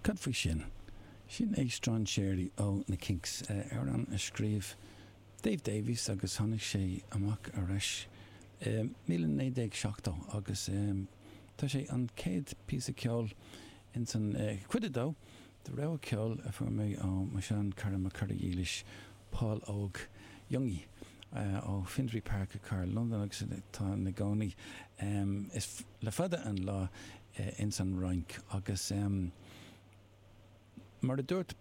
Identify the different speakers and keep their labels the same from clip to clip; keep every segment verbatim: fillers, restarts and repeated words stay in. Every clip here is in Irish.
Speaker 1: Cad faoi sin? Sin é Strainséirí ó na Kinks, amhrán a scríobh Dave Davies agus tháinig sé amach arís míle naoi déag seachtó agus tá sé an chéad píosa ceoil ins an cuid a dó de rogha ceoil a fuair mé ó mo shean cara, mo chara dhílis, Paul Óg Youngie ó Finsbury Park i cathair Londain agus atá ina gcónaí is le fada an lá ins an Fhrainc. Agus mar a dúirt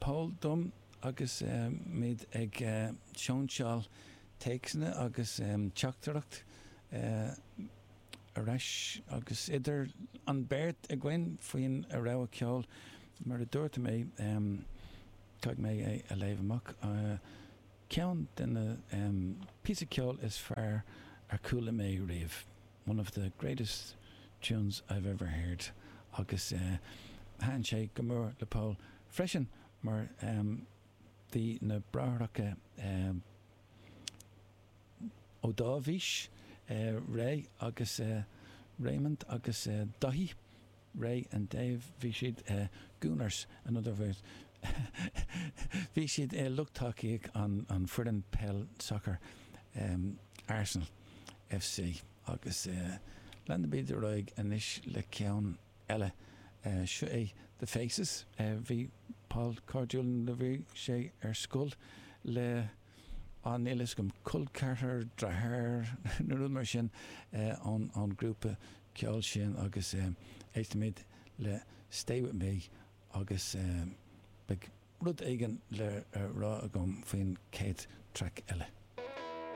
Speaker 1: Paul dom agus muid ag sóinseáil téacsanna agus teachtaireacht ar ais agus idir an beirt againn faoin rogha ceoil, mar a dúirt mé, caithfidh mé é a léamh amach, "Ceann de na píosa ceoil is fearr ar chuala mé riamh", "one of the greatest tunes I've ever heard". Agus thaitin sé go mór le Paul freisin mar bhí na bráithreacha Ó Dáibhís, Ray agus Raymond agus Daithí, Ray and Dave, bhí siad Gooners, in other words, bhí siad lucht tacaíocht an foireann peil soccer Arsenal F C. Agus leanfaimid ar aghaidh anois le ceann eile. Seo é The Faces. Bhí Paul cairdiúil nuair a bhí sé ar scoil le an níl gom col ceathrar, deartháir nó rud mar sin ón ón grúpa ceoil sin agus éistimid le Stay With Me agus beidh rud éigin le rá agam faoin chéad traic eile.